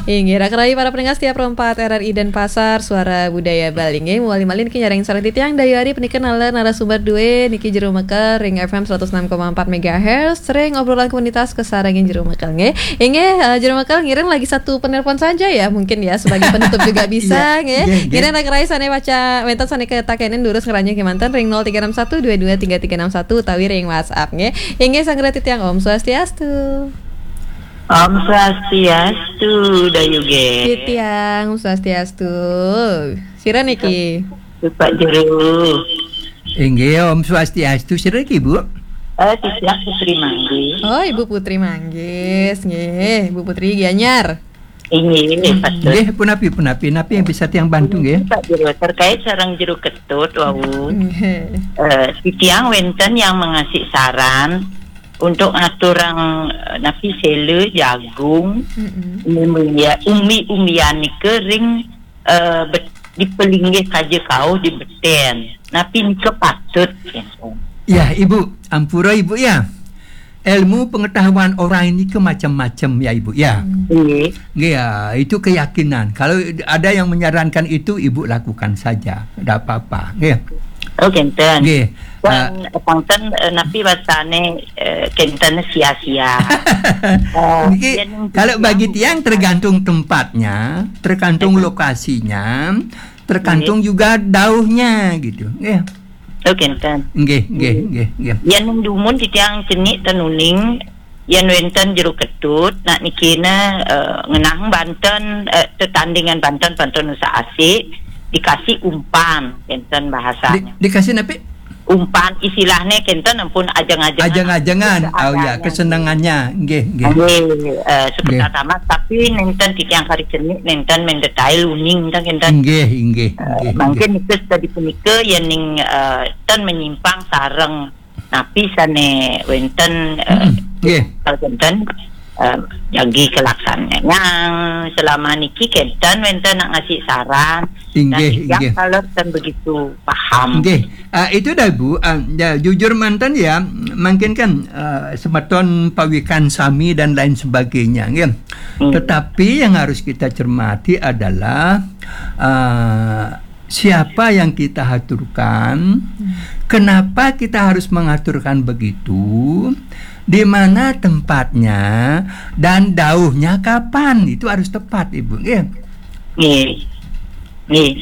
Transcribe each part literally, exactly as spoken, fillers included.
Inggih, raka rahayu para pendengar setia Pro empat R R I Denpasar, Suara Budaya Bali. Inggih, mawali malih niki nyarengin sareng titiang Dayu Ari, punika nalika narasumber duwe niki jero mekel ring F M seratus enam koma empat megahertz, ring obrolan komunitas kasarengin jero mekel, nggih. Inggih, eh, jero mekel ngiring lagi satu penelpon saja ya, mungkin ya, sebagai penutup juga bisa, nggih. Nggih, nggih. Ngiring raka rahayu sane pacang wenten sane katakenin durus ngranjing kemanten ring nol tiga enam satu dua dua tiga tiga enam satu utawi ring WhatsApp, nggih. Inggih, sareng titiang Om Swastiastu. Om Swastiastu, Dayu nggih. Titiang, Om Swastiastu. Sira niki? Pak Jero. Inggih, Om Swastiastu. Sira niki, Bu? Eh, titiang Putri Manggis. Oh, Ibu Putri Manggis, nggih. Ibu Putri Gianyar. Inggih, patut. Nggih, punapi, punapi, napi yang bisa tiang bantu, nggih? Pak Jero, terkait sareng jero ketut wau. Nggih. Eh, titiang wenten yang mengasih saran untuk ngaturang, eh, napi sela, jagung, Mm-mm. umbi-, umbi-umbian nika ring, eh, bet-, di pelinggih saja kauh di beten. Napi nika patut, gitu. Ya, Ibu, ampura Ibu ya. Ilmu pengetahuan orang ini ke macam-macam ya Ibu ya. Hmm. Nggih. Nggih, ya, itu keyakinan. Kalau ada yang menyarankan itu, Ibu lakukan saja. Tidak apa-apa. Nggih. Oh, kenten. Nggih. Dan, ah, eh, kenten, eh, napi wasane, eh, kenten sia-sia. Eh, Niki, yen kalau bagi tiang tergantung tempatnya, tergantung Betul. lokasinya, tergantung Nggih. juga dauhnya gitu. Nggih. Oh, kenten. Nggih, nggih, Nggih. nggih, nggih. Yen dumun titiang cenik ten uning, yen wenten jero ketut, nak nikina, eh, ngenang banten, eh, tetandingan banten, banten usak asik, dikasih umpan, kenten bahasanya. Di-, dikasih napi? Umpan, istilahnya kenten ampun ajeng-ajengan. Ajeng-ajengan. Oh ya, Seadanya. kesenangannya. Nggih, nggih. Nggih, eh, sebentar Nggih. tamat, tapi nenten titiang kari cenik, nenten mendetail uning, kenten. Nggih, nggih, Eh, nggih, mungkin nggih. itu tadi punika yen ning, eh, ten menyimpang sareng napi sane wenten, eh, Mm-mm. Nggih. Wenten, eh, jagi kelaksanaan. Yang selama niki kenten wenten nak ngasih saran. Inggih, Dan inggih. Kalau ten begitu paham. Nggih. Ah, itu dah, Bu. Ah, ya, jujur manten ya, mungkin kan, ah, semeton pawikan sami dan lain sebagainya, nggih. Hmm. Tetapi yang harus kita cermati adalah, ah, siapa yang kita haturkan, Hmm. kenapa kita harus mengaturkan begitu, di mana tempatnya, dan dauhnya kapan, itu harus tepat, Ibu, nggih. Nggih. Nggih.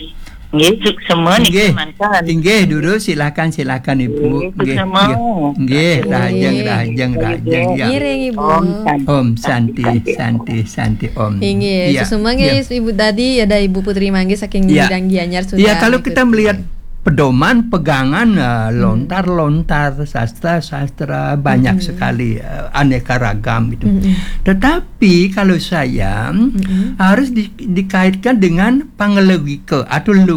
Nggih, suksema niki Nggih. manten. Inggih, dulu silakan, silakan, Ibu. Nggih, Nggih, suksema. nggih. Nggih, Nggih. rahajeng, rahajeng, rahajeng, ya. Ngiring, Ibu. Om Santi, Om Santi, Santi, Santi, Santi, Om. Inggih, Iya, suksema nggih, iya. Ibu tadi, ada Ibu Putri Manggis saking Iya. Bidang Gianyar sudah Iya, kalau kita mengikuti. melihat pedoman, pegangan, eh, Hmm. lontar-lontar, sastra-sastra, banyak Mm-mm. sekali, eh, aneka ragam gitu. Mm-mm. Tetapi kalau saya, Mm-mm. harus di-, dikaitkan dengan panglogika atau logika.